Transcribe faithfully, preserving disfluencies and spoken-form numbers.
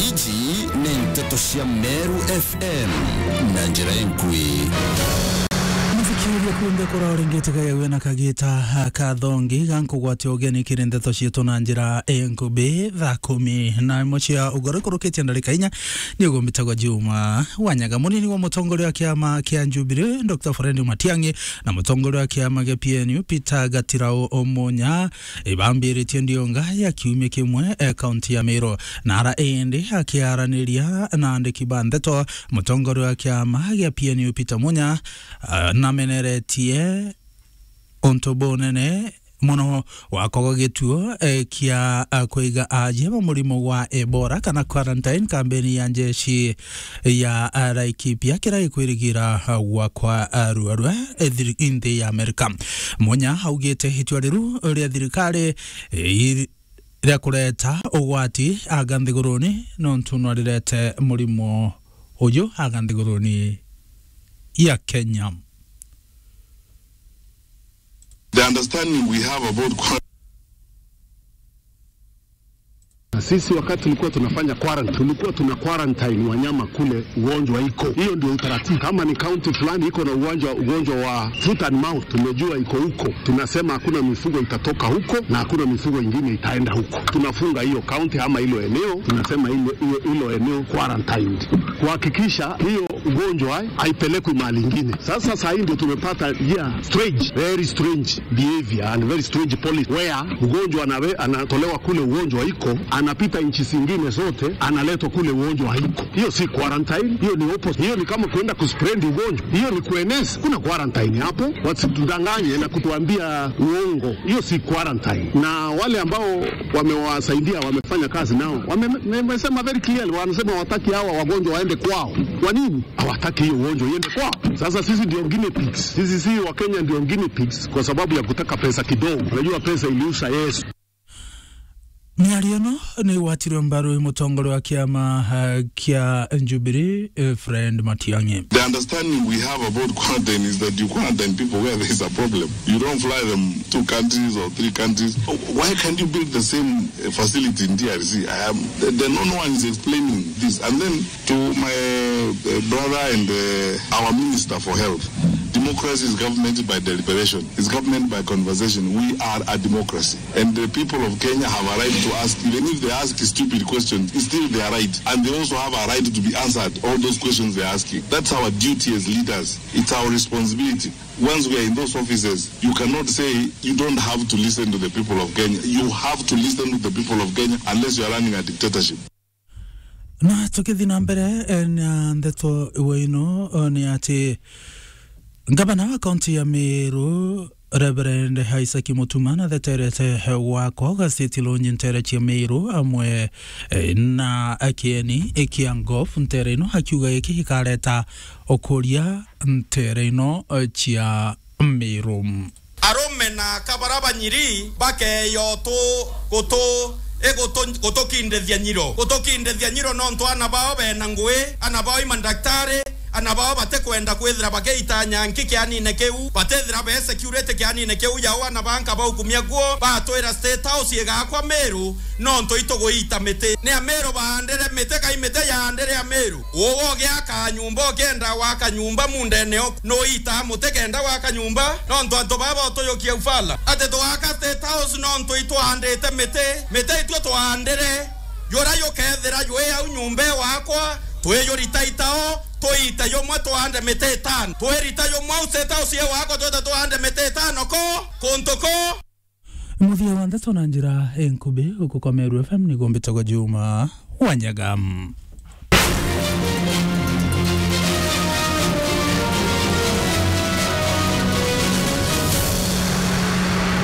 Iji ni nteto cia Meru F M na njira inkui. Muthikiriria kunthe kura uringite kagegwe na kagita ka thongi ga nkugwatia ugeni kiri nteto cietu na njira inkubi thaa kumi na imwe cia ugoro ikurukitie ndarika inya. Ni ugumbitagwa Juma Wanyaga. Munini wa mutongoria wa kiama kia Jubilee, Doctor Fred Matiang'i, na mutongoria wa kiama gia P N U, Peter Gatirau Omunya, ibambiritie ndionga ya kiumia kimwe, eh, kaunti ya Meru. Na ara indi akiaraniria na andiki ba nteto, mutongoria wa kiama gia P N U Peter Munya, ah, nameneretie untu bunene mono wa kwaga gituo, eh, kia, ah, kuiga ajia ba murimo wa Ebola kana quarantine, kambeni ya njeshi ya, ah, Laikipia kira ikwirigira, ah, gwakwa, ah, ruarua, eh, thiri-, nthi ya Amerika. Munya augite itua riru ria thirikari, eh, iri-, ria kureta ugwati aga nthiguruni nontu no rirete murimo uyu aga nthiguruni ya Kenya. The understanding we have about qua- Na sisi wakati tulikuwa tunafanya quarantine, tulikuwa tuna quarantine wanyama kule ugonjwa iko. Hiyo ndio utaratibu. Kama ni kaunti fulani iko na ugonjwa, ugonjwa wa foot and mouth, tumejua iko huko. Tunasema hakuna mifugo itatoka huko na hakuna mifugo ingine itaenda huko. Tunafunga hiyo kaunti ama hilo eneo, tunasema ile, hiyo, hilo eneo quarantined. Kuhakikisha hiyo ugonjwa haipelekwi mahali ingine. Sasa saa hii ndio tumepata, yeah, strange, very strange behavior and very strange policy where ugonjwa anawe-, anatolewa kule ugonjwa iko, anapita nchi zingine zote, analetwa kule ugonjwa haiko. Hiyo si quarantine, hiyo ni opposite. Hiyo ni kama kuenda kuspread ugonjwa. Hiyo ni kueneza. Kuna quarantine hapo, wasitudanganye na kutuambia uongo. Hiyo si quarantine. Na wale ambao wamewasaidia, wamefanya kazi nao, wame-, wamesema very clearly, wanasema hawataki hawa wagonjwa waende kwao. Kwa nini? Hawataki hiyo ugonjwa iende kwao. Sasa sisi ndio guinea pigs. Sisi si wa Kenya ndio guinea pigs kwa sababu ya kutaka pesa kidogo. Unajua pesa iliuza Yesu. Miario ino ni igwatirwe mbaru i mutongoria wa kiama, eh, kia Jubilee, eh, Fred Matiang'i. The understanding we have about quarantine is that you quarantine people where there is a problem. You don't fly them two countries or three countries. Why can't you build the same, eh, facility in D R C? I am, the, the, no, no one is explaining this. And then to my, uh, brother and, uh, our Minister for Health, democracy is government by deliberation. It's government by conversation. We are a democracy. And the people of Kenya have a right to ask, even if they ask stupid questions, it's still their right. And they also have a right to be answered all those questions they're asking. That's our duty as leaders. It's our responsibility. Once we are in those offices, you cannot say you don't have to listen to the people of Kenya. You have to listen to the people of Kenya unless you are running a dictatorship. Na tukithi na mbere, eh, na ndeto iwe ino, eh, ni ati ngavana wa kaunti ya Meru, Reverend Isaac Mutuma, natheterete, eh, gwakwa ga State Lodge ntere cia Meru, amwe, eh, na akieni ikia Ngof ntere ino, akiuga giki gikareta ukuria ntere ino, eh, cia Meru. Arume na aka bara banyiri bakeeya utu gutu-, igutu-, gutukindithia nyiro. Gutukindithia nyiro nontu ana bao bena ngui, ana bao i mandaktari, ana bao batikwenda kwithira bagiita nyanki kianine kiu, batithira be security kianine kiu yao, ana ba nkabaukumia kuo, batwira State House igakwa Meru, nontu ituguita miti. Ni Ameru baandire miti, kai miti yaandire Ameru? Uwe ugiaka nyumba, ukienda gwaka nyumba mundene oku, nuitaa muti kenda gwaka nyumba? Nontu antu baba utuyukia ufala ati tugaka State House nontu itwaandite miti. Miti itwe twaandire. Jura jukethira jwi au nyumba iwakwa, twijurita itao, tuite jumwe tuande miti itano. Twirita jumwe au State House iwakwa, twite tuande miti itano ko, kuntu ko. Muthia wa ndeto na njira inkubi, guku kwa Meru F M ni gumbitagwa Juma Wanyaga.